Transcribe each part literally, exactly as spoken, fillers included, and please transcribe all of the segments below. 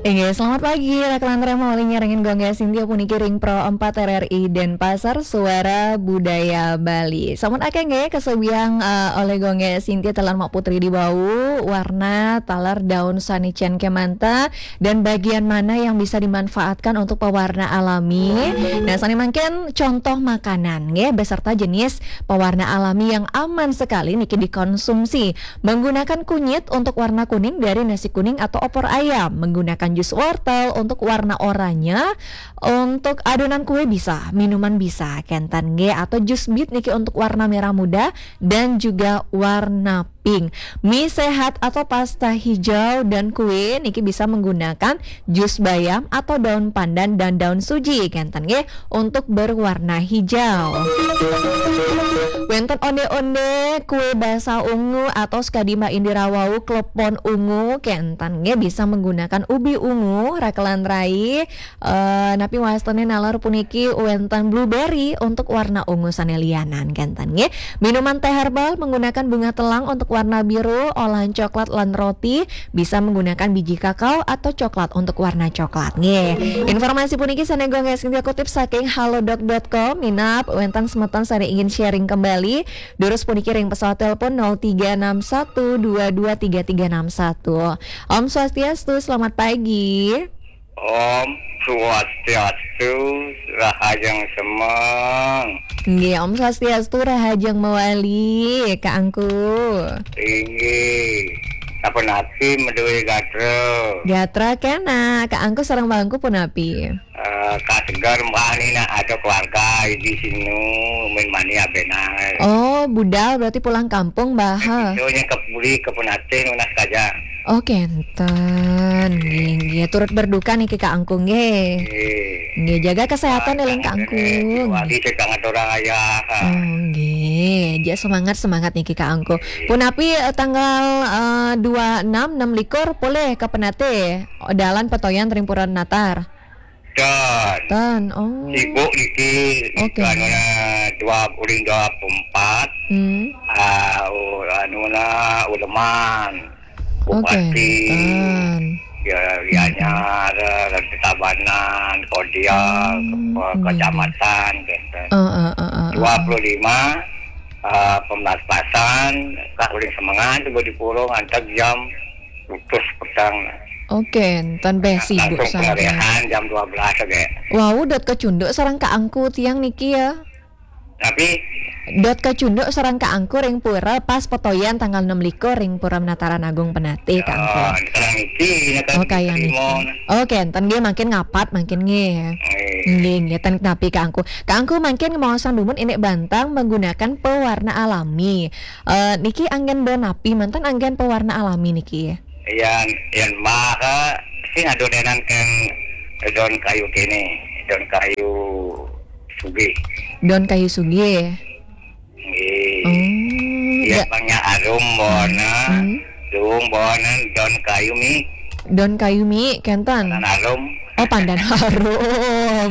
Inggih, selamat pagi, Raklan Rema, oleh nyarengin Gongge Sintia puniki ring Pro empat R R I Denpasar, Suara Budaya Bali. Sampun akeh nggih kasebiang, eh, oleh Gongge Sintia taler Mak Putri di wau, warna taler daun sane cen kemanta, dan bagian mana yang bisa dimanfaatkan untuk pewarna alami. Nah, sane mangkin contoh makanan nggih, beserta jenis pewarna alami yang aman sekali niki dikonsumsi. Menggunakan kunyit untuk warna kuning dari nasi kuning atau opor ayam. Menggunakan jus wortel untuk warna oranye. Untuk adonan kue bisa, minuman bisa, kenten nggih, atau jus bit niki untuk warna merah muda dan juga warna pink. Mie sehat atau pasta hijau dan kue niki bisa menggunakan jus bayam atau daun pandan dan daun suji, kenten nggih, untuk berwarna hijau. Wenten onde-onde, kue basah ungu atau sakadi Mbak Indira wau, klepon ungu, kenten nggih, bisa menggunakan ubi ungu, rakelan rai, eh, napi wastane naler puniki wenten blueberry untuk warna ungu sane lianan, kenten nggih. Minuman teh herbal menggunakan bunga telang untuk warna biru, olahan coklat lan roti, bisa menggunakan biji kakao atau coklat untuk warna coklat. Nggih. Informasi puniki sane Gongge Sintia kutip saking halodoc dot com. Minab wenten semeton sane ingin sharing kembali, durus puniki ring pesawat telepon nol tiga enam satu dua dua tiga tiga enam satu. Om Swastiastu, selamat pagi. Om Swastiastu, rahajeng semeng. Nggih, Om Swastiastu, rahajeng mawali, Kak Angku. Inggih. Sapunapi madué gatra? Gatra kena, Kak Angku sareng Mbah Angku punapi? Eh, kaseger mbah niki nak ada keluarga di sini, min mani abenar. Oh, budal berarti pulang kampung, Mbah. Itu nya ke puri ke Penatin, unas kaja. Oh, kenten. Nggih, nggih. Turut berduka niki, Kak Angku, nggih. Nggih. Nggih, jaga kesehatan, eling, Kak Angku. Wali cek banget orang ayah. Oh, nggih. Ja, semangat, semangat niki, Kak Angku. Punapi, eh, tanggal, eh, dua enam, enam likur, polih ke Penatih. Dalan Petoyan ring Pura Natar. Dan. Dan, oh. Sibuk niki, oke. Anu na dua puluh, dua puluh empat. Hmm. Ah, u-, anu na uleman. Oh, bupati. Kenten. Ya, Gianyar, Ratu Tabanan, Kodial, hmm, ke-, nggih, nggih, kecamatan, kenten. Eh, eh, eh, eh, eh. Dua puluh lima, eh, pemnas-pasan, Kak uling semengan, tiba di purung, antek jam putus petang. Oke, enten beh sibuk. Langsung saja. Pengalihan jam dua belas aja. Wau, dot kacunduk sareng Kak Angku tiang niki ya. Tapi dot kacunduk sareng Kak Angku ring pura pas petoyan tanggal enam likur ring Pura Penataran Agung Penatih, Kak Angku. Oh, sareng niki, ini kan. Oh, kaya niki. Oke, enten nggih mangkin ngapat mangkin nggih. Nggih. Nggih, nggih, ten napi Kak Angku. Kak Angku mangkin ngemaosan dumun indik bantang menggunakan pewarna alami. Eh, niki anggen daun napi, manten anggen pewarna alami niki? Yan, yan mah, sing adonan kan daun kayu kene, daun kayu sugih. Daun kayu sugih. Nggih. Oh, ya, ya. Bangnya arum bona, hmm, dung bona, daun kayu mi. Daun kayu mi, kenten. Pandan harum. Oh, pandan harum.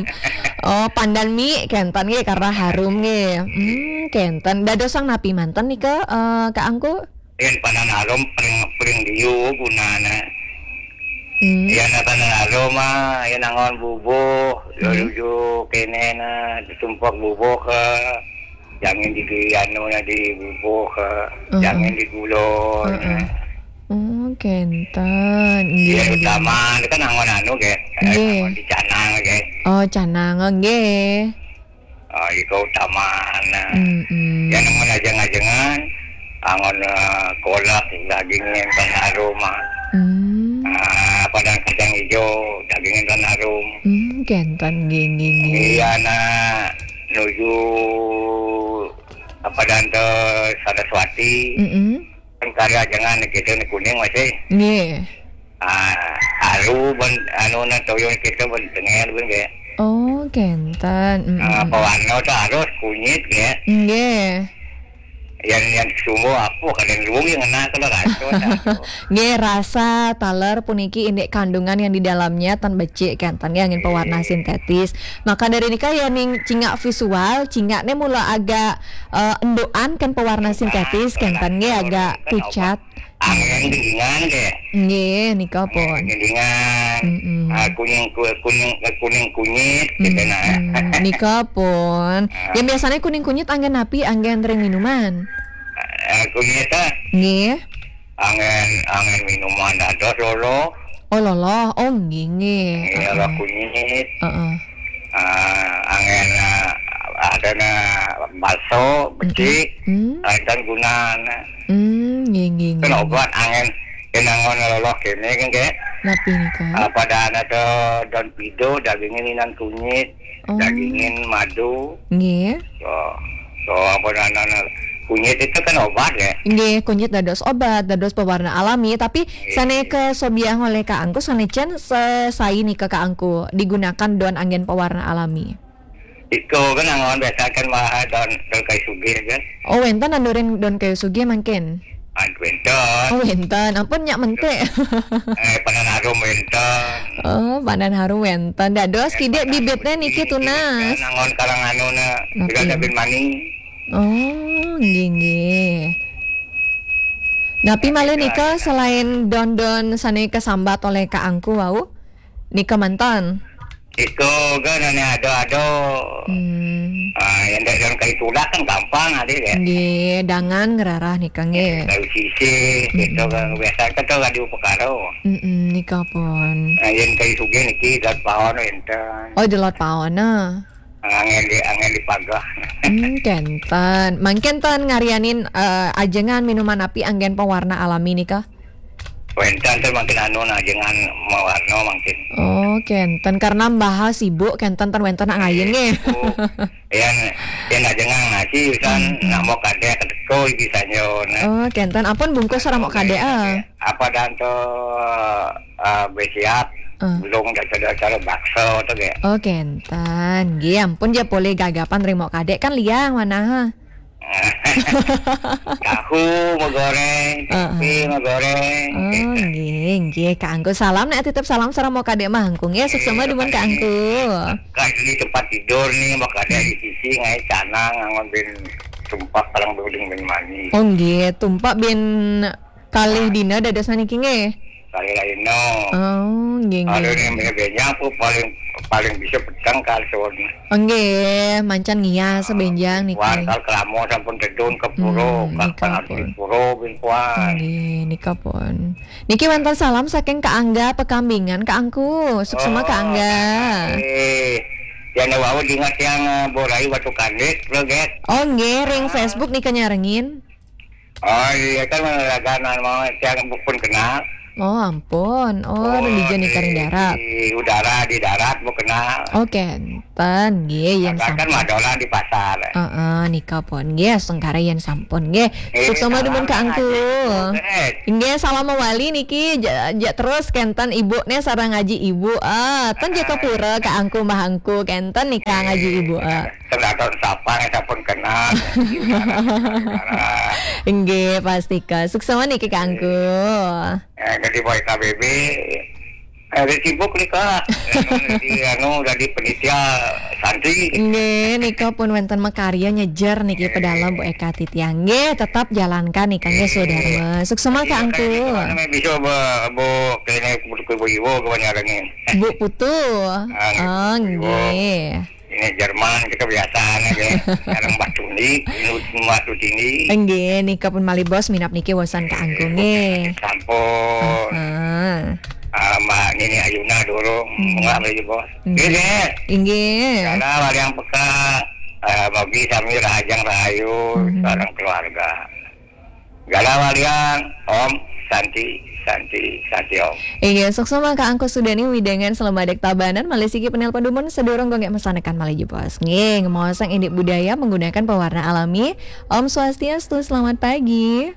Oh, pandan mi, kenten nggih, karena harum nggih. Hmm, kenten. Dadosang napi manten nika, eh, Kak Angku? Yen pandan harum paling, paling liu gunane. Hmm. Yen pandan harum mah, yen angon bubuh, hmm, nuju kene na, ditumpuk bubuh ke, jangin di, di anu na di bubuh ke, hmm, jangin di gula, hmm, na. Oh, kenten. Nggih, ya, nggih. Utama itu kan angon anu, ge. Eh, nggih. Angon di canang, ge. Oh, canang, nggih. Ah, ika utamana. Mm-mm. Yan angon ajeng-ajengan, angon, eh, kolak, daging enten harum, ah. Hmm. Ah, padang kacang ijo, daging enten harum. Hmm, kenten, nggih, nggih, nggih. Iya, nah, nuju, apa, dan te Saraswati. Mm-mm. Kan karya jangan gitu, ni kuning masih. Nggih. Ah, haru ben, anu, na toyo kita ben tengel ben ge. Oh, kenten. Mm, ah, mm, mm. Pewarna tu harus kunyit ge. Nggih. Yang, yang sumber apa, kadang luwung yang ngena kalau rasa dah tu. Nggih, rasa taler puniki indik kandungan yang di dalamnya tan becik, kenten, nggih, angin pewarna, nggih, sintetis. Maka dari nika ya ning cingak visual, cingak ne mula agak, eh, endukan kan pewarna sintetis, kenten, nggih, agak pucat. Angén gendingan deh. Nggih, nika pun. Gendingan. Mm-mm. Ah, kuning ku- kuning eh, kuning kunyit gitu nah. Mm-mm. Nika pun. Yang biasanya kuning kunyit anggen napi, anggen ring minuman. Ah, kunyit ah, Nggih. angén angén minuman dados lolo. Oh, loloh. Oh, nggih, nggih. Ini Heeh. Lolo kunyit. Heeh. Ah, angén ah, ada na bakso, becik, Hmm. ada gunana. Hmm, nggih, nggih, Kan nggih. obat angén kenangan loloh kene kan kayak Napi nika? Ah, pada anak tu daun pido, dagingin inan kunyit, Oh. dagingin madu. Nggih. So, so apa anak kunyit itu kan obat ya. Nggih, kunyit dados obat, dados pewarna alami, tapi sane ke sobiah oleh Kak Angku, sane cen sesai nika Kak Angku digunakan don anggen pewarna alami. Iko kan anggon biasa kan mah daun daun kayu sugih kan. Oh, wenten nandurin don kayu sugih mangkin. Ah, wenten. Oh, wenten. Ampun nyak mentik. Eh, panan harum wenten. Oh, panan harum wenten. Dados kidik bibitnya niki tunas. Anggon kalang anu na. Napi? Juga ada bin mani. Oh, nggih, nggih. Napi malih nika selain don-don sane kesambat oleh Kak Angku wau? Nika mantan. Iko kan ane ado-ado. Hmm. Ah, yang dari daun kayu tudak kan gampang ada ya. Nggih, dangan ngerarah nika nggih. Kayu sisih, gitu kan biasa kan tu radio pekaro. Mm-mm, nika pun. Nah, yang kayu sugih niki daun pawon enten. Oh, delot pawon nah. Angin di angin di pagah. Hmm, kenten. Mangkin ten ngarianin eh, ajengan minuman api anggen pewarna alami nika. Wenten tu mangkin anu nah jangan mawarna mangkin. Oh, kenten karena mbah sibuk kenten ten wenten nak ngayen nggih. Yang yang nak jangan ngaji kan nak mau kadek teko iki sanyo nah. Oh, kenten ampun bungkus ora mau kadek ah. Apa dan tu uh, bersiap Ah. belum dah ada acara bakso tu ke. Oh, kenten. Nggih, ampun ya boleh gagapan ring mau kadek kan liang mana ha. Tahu mau goreng, tempe mau goreng. Oh, nggih, nggih. Kak Angku salam nek titip salam sareng mau kadek mah Angku nggih. Suksema dumun Kak Angku. Kan di tempat tidur nih, mau kadek di sisi ngai canang ngangon bin tumpak palang buling bin mani. Oh, nggih, tumpak bin kalih dina dados maniki nggih. Kali lain no. Oh, nggih, Ada nggih. Yang punya benjang aku paling paling bisa petang kali sewon. Oh, nggih, mancan ngias benjang niki. Kuan kal kelamo sampun tedun ke puro, Hmm, kal nika panas di pun. puro bin kuan. Nggih, nika pun. Niki wonten salam saking Kak Angga Pekambingan, Kak Angku. Suksema Kak Angga. Eh, yang wau ingat yang eh, borai batu kandit, lo get. Oh, nggih, ring Facebook nika nyarengin. Oh iya kan menerakan mau yang pun kenal. Oh, ampun. Oh, ring dija nika ring darat. Di udara di darat mau kenal. Oh, kenten. Nggih, yen Kan sampun. Madola di pasar. Heeh, nika pun. Nggih, sengkara yen sampun. Nggih, Eh, suksema dumun Kak salam Angku. ngaji, eh. Nggih, salam mawali niki ja, ja terus kenten ibune sareng ngaji ibu. Ah, ten jaka pura Kak Angku Mbah Angku kenten nika ngaji ibu. Ah. Terdapat sapa yang sampun kenal. Nggih, pastika. Suksema niki Kak Angku. Eh, jadi boy K B B. Eh, dia sibuk nih kak. Jadi anu jadi penitia santri. Nggih, nika pun wonten makarya nyejer niki pedalem Bu Eka Titiang. Nggih, tetap jalankan nika nggih Sudharma. Suksema Kak Angku. Mana bisa bu bu kene kudu kudu ibu kawan nyarengin. Bu Putu. Ah, Oh, nggih. Nggih. Ini Jerman kita biasa aja. Sekarang batu ni, batu tinggi. Nggih, nika pun malih bos minap niki wosan Kak Angku nggih. Sampun. Ah. Ah, Mbak Nini Ayuna dulu, nggak beli bos. Ini, Inggih. Karena wali yang peka, eh, bagi kami rahajang rahayu, sekarang keluarga. Gala walian, Om, Santi, Santi, Santi Om. Iya, suksema Kak Angku Sudani widangan Selamadek Tabanan, malih siki penelpon dumun sedurung gonggek mesanekan malih jebos. Nggih, ngemaosang indik budaya menggunakan pewarna alami. Om Swastiastu, selamat pagi.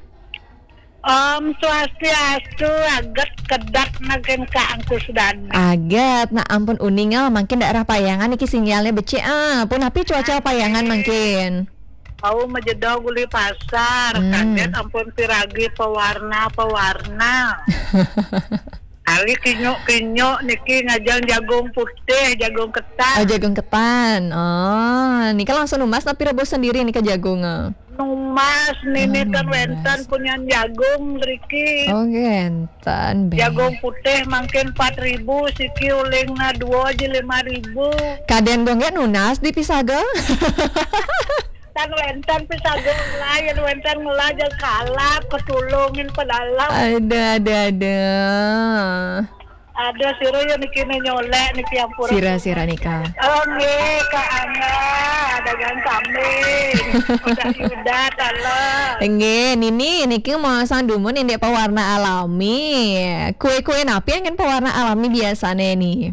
Om Swastiastu, aget kedat nagen Kak Angku Sudani. Aget, nah ampun uning ah, mangkin daerah Payangan niki sinyalnya becik ah. Pun api cuaca Payangan mangkin. Au majedo guli pasar, Hmm. Kaget ampun piragi pewarna-pewarna. Ali kinyuk-kinyuk niki ngajang jagung putih, jagung ketan. Oh, jagung ketan. Oh, nika langsung numbas tapi rebus sendiri nika jagung. Ah. Numbas, nini kan wénten punyan jagung mriki. Oh, wénten, bé. Jagung putih mangkin empat ribu, siki ulingna dua aja lima ribu. Kadén Gung Gék nunas di pisaga? Tan wénten pisaga ngelah, yén wénten ngelah ja kalap, ketulungin pedalem. Ada, ada, ada. Ada sira ya niki nyolek niki ampura. Sira, sira nika. Oh, nggih, Kak Angga, dagang kambing. Udah, udah, kalau. Nggih, nini niki mau sang dumun indik pewarna alami. Kue-kue napi angin pewarna alami biasane ni?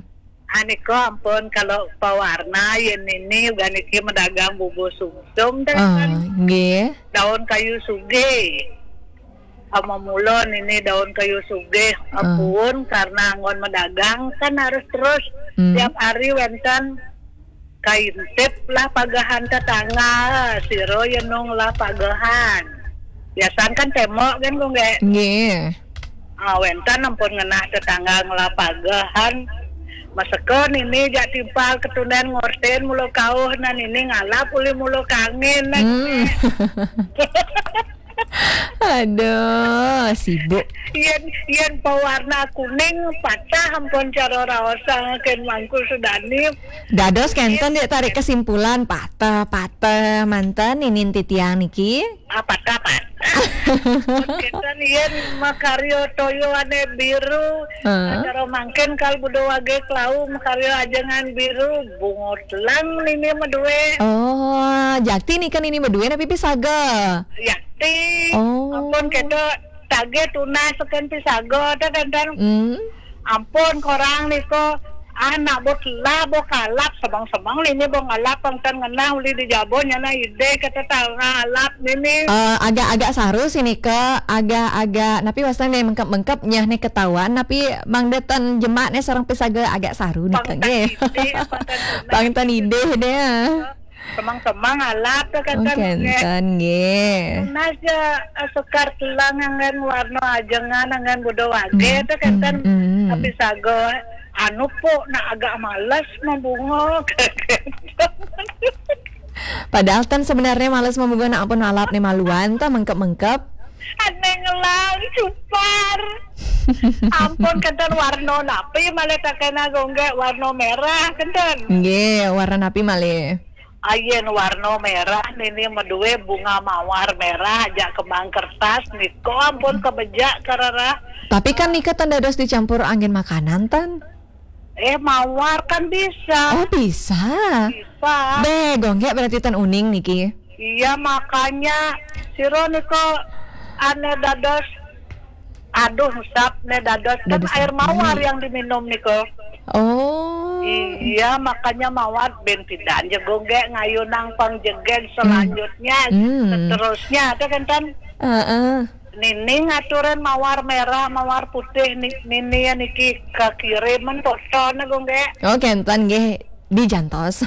Anika ampun kalau pewarna yen nini uga niki medagang bubur sumsum dah. Ah, kan. Nggih. Daun kayu sugih. Ama mula nini daun kayu sugih, ah, ampun, karena anggon medagang kan harus terus. Hmm. Tiap hari wénten kaintip lah pagehan tetangga, sira yenung lah pagehan. Biasan kan temok kan, Gung Gék? Nggih. Ah, wénten ampun ngenah tetangga ngelah pagehan. Maseka nini jak timpal ketunden ngorten mula kauh, nah nini ngalap uli mula kangin, nah. Hmm. Aduh, sibuk. Yen, yen pewarna kuning patah ampun cara raosaken Mangku Sudani. Dados kénten, Dik, tarik kesimpulan patah, patah manten ninin titiang niki. Ah, patah, patah. Ampun kénten yen makarya toya ane biru. Heeh. Cara mangkin kal buda wage klau makarya ajengan biru, bungut lang nini madue. Oh, jakti nika nini madue napi pisaga? Jakti. Oh. Ampun kéto tagih tunas seken pisaga ta kénten. Hmm. Ampun korang nika, ah, nak bo telah bo kalap, semang-semang nini bo ngalap pang tan ngenah uli di jaba nyana idih kata tanga alap nini. Eh, agak-agak saru sih nika, agak-agak napi wastan ne mengkep-mengkep nyah ne ketahuan, napi mangda tan jemak ne sareng pisaga agak saru nika nggih. Pang tan idih, pang tan tunas. Pang tan idih deh. Semang-semang alap ta kénten. Oh, kénten nggih. Tunas ja, eh, sekar telang anggen warna ajengan anggen buda wage ta kénten. Hmm, hmm. Tapi saga anu pok nak agak males mabunga. Padahal tan sebenarnya males mabunga nak ampun alap ne maluan ta mengkep-mengkep. Ane ngelang cupar. Ampun kénten warna napi malih ta kena Gung Gék, warna merah kénten. Nggih, warna napi malih? Ayen warna merah nini madue bunga mawar merah ajak kembang kertas nika ampun kebejak karara. Tapi kan nika tan dados dicampur anggen makanan tan? Eh, mawar kan bisa. Oh, bisa. Bisa. Be, Gung Gék berarti tan uning niki. Iya, makanya sira nika ane dados Aduh, usap ne dados kan dados air mawar yang diminum nika. Oh. Iya, makanya mawar ben pidan ja Gung Gék ngayunang pangjegeg selanjutnya, hmm, seterusnya ta kénten. Heeh. Nini ngaturin mawar merah, mawar putih ni-, nini ya niki kakiriman fotone Gung Gék. Oh, kénten nggih dijantos.